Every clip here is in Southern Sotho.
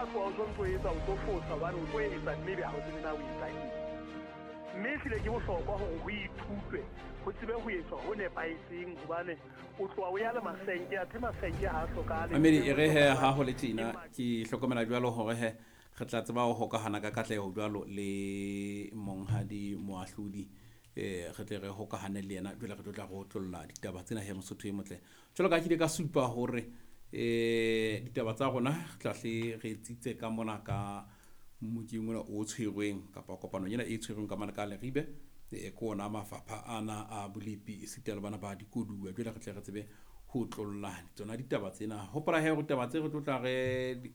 tla tloha o sontso o etsa, o tlo fosa hobane o tlo etsa mme ebe ha o tsebe na o etsa eng. Mme ehlile ke bohlokwa hore ho ithutwe, ho tsebe ho etswa ho nepahetseng hobane o tloha o ya le masenke, athe masenke ha a hlokahale. Mamedi e re he ha ho le tjena ke hlokomela jwalo hore he re tla tseba ho hokahana ka katleho jwalo le monghadi moahlodi re tle re hokahane le yena jwale re tlo tla re otlolla ditaba tsena he Mosotho e motle. Jwalo ka ha ke ile ka supa hore ditaba tsa rona re tla hle re tsitse ka mona ka mokeng ona o tshwerweng kapa kopanong ena e tshwerweng ka mane ka Leribe, ke ona mafapha ana a bolepi esita le bana ba dikoduwa. Jwale re tle re tsebe ho otlolla tsona ditaba tsena. Hopola he hore taba tse re tlo tla re di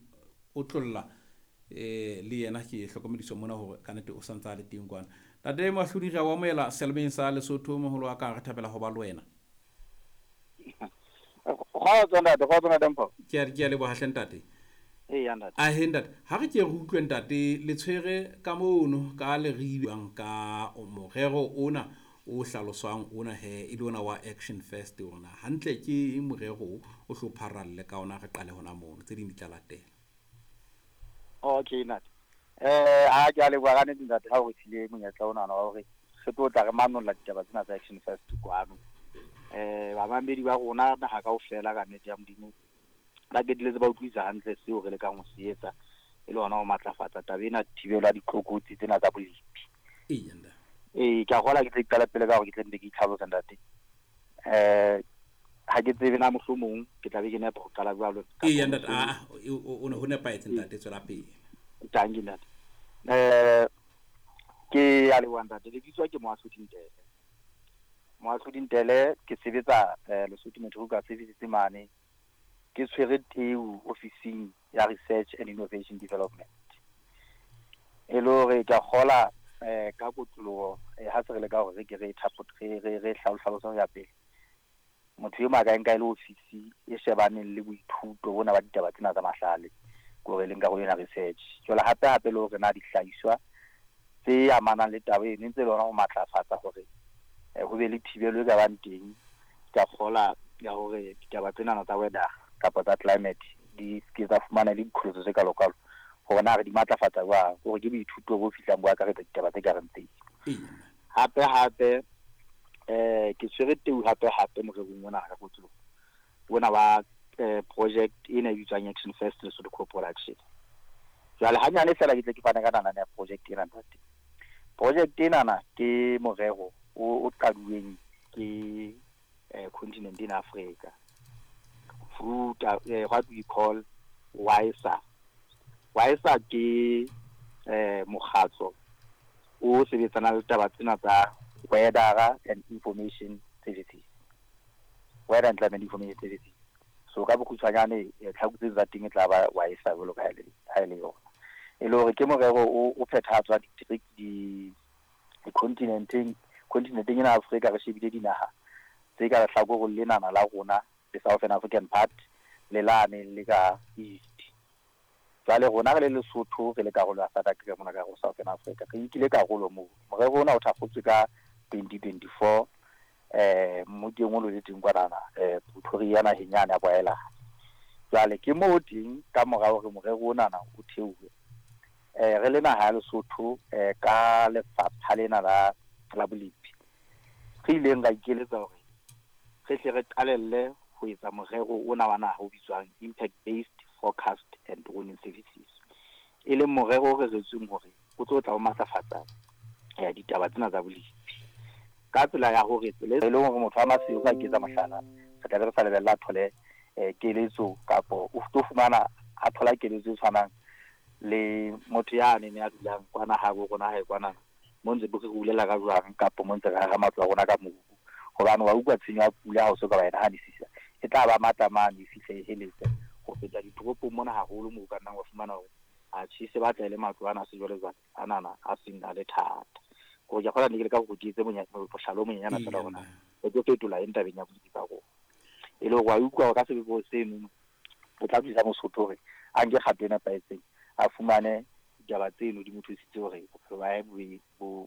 otlolla le yena ke hlokomediswa mona hore ka nete o santse a le teng kwana. Ntate Moahlodi, re a o amohela selemeng sa Lesotho, moholo wa ka, re thabela ho ba le wena. Kgotso ntate, kgotso ntate Mpho. Ke a leboha hle ntate. Eya ntate. Ahe ntate, ha re ke re utlwe ntate le tshwere ka mono ka Leribe ka morero ona o hlaloswang ona he e le ona wa Action First ona. Hantle ke eng morero o o hlo pharalle ka ona, re qale hona mono, tse ding di tla latela. Okay ntate. A ke a leboha ka nnete ntate ha o re file monyetla ona wa hore re tlo tla re manolla ditaba tsena tsa Action First kwano. Bamamedi ba rona naha kaofela ka nnete ya Modimo ba qetelletse ba utlwisisa hantle seo re lekang ho se etsa e le hona ho matlafatsa taba ena thibelo ya ditlokotsi tsena tsa bolepi. Eya ntate. Ee, ke a kgola ke tle ke qala pele ka hore ke tle nne ke itlhalose ntate. Ha ke tsebe na mohlomong ke tla be ke nepa ho qala jwalo. Eya ntate, a o ne ho nepahetse ntate, tswela pele. Tanki ntate. Ke a leboha ntate, le bitswa ke Moahlodi Ntele. Moahlodi Ntele ke sebetsa Lesotho Meteorological Services mane. Ke tshwere teu ofising ya Research and Innovation Development. E le hore ke a kgola ka kotloloho ha se re leka hore re ke re re re re hlalose ho ya pele. Motho e mong a ka e nka e le ofisi e shebaneng le boithuto bona ba ditaba tsena tsa mahlale, ke hore e leng karolo ena research. Jwale hape hape le hore na dihlahiswa tse amanang le taba eno e ntse le hona ho matlafatsa hore ho be le thibelo e ka bang teng. Ke a kgola ya hore ditaba tsenana tsa weather kapa tsa climate di ke tsa fumana le diqholotso tse kalokalo, hore na re di matlafatsa jwang, hore ke boithuto bo fihlang bo akaretsa ditaba tse kareng tseo. Hape hape ke tshwere teu hape hape morerong ona ka kotloloho ona wa project ena e bitswang Action First Lesotho Co-production. Jwale hanyane fela ke tle ke fane ka nalane ya project ena ntate. Project enana ke morero o qaduweng ke continent ena Africa through what we call WISA. WISA ke mokgatlo o sebetsanang le taba tsena tsa weather and information services, weather and climate information services. So ka bokgutshwanyane tlhaku tse tsa teng e tla ba WISA jwalo ka ha e le yona. E le hore ke morero o phethahatswa di-continenteng, continenteng ena Afrika re shebile dinaha tse ka lehlakoreng lenana la rona le Southern African part le lane le ka East. Jwale rona re le Lesotho re le karolo ya SADC ka mona ka ho Southern Africa, re nkile karolo moo. Morero ona o thakgotswe ka 2024 mmokeng o le teng kwanana Pretoria naheng yane ya boahelani. Jwale ke moo teng ka mora hore morero onana o theohe, re le naha ya Lesotho ka lefapha lena la bolepi re ileng ra ikeletsa hore re hle re qalelle ho etsa morero ona wa naha o bitswang Impact Based Forecast and Warning Services, e leng morero o reretsweng hore o tlo tla o matlafatsa ditaba tsena tsa bolepi ka tsela ya hore tsela e leng hore motho wa Maseru a ketsa mohlala, re tla be re sa lebella a thole keletso kapo o tlo fumana a thola keletso e tshwanang le motho yane ne a dulang kwana habo rona hae kwana mo ntse re rulela ka jwang kapo mo ntse re haha matlo a rona ka mobu, hobane wa utlwa tshenyo ya pula ha o so ka wa e nahanisisa e tla ba matla mane e fihle e heletse ho feta ditoropong mona haholo moo o ka nnang wa fumana hore atjhe se batla e le matlo ana a sejwalejwale anana a seng a le thata. Hore ke kgola ne ke leka hore ke etse mohlala o monyenyana fela hore na re tlo fetola eng tabeng ya bolepi ba rona. E le hore wa utlwa hore ka sebopeho seno o tla thusa Mosotho hore a nke kgato e nepahetseng, a fumane ditaba tseno di mo thusitse hore bophelo ba hae bo.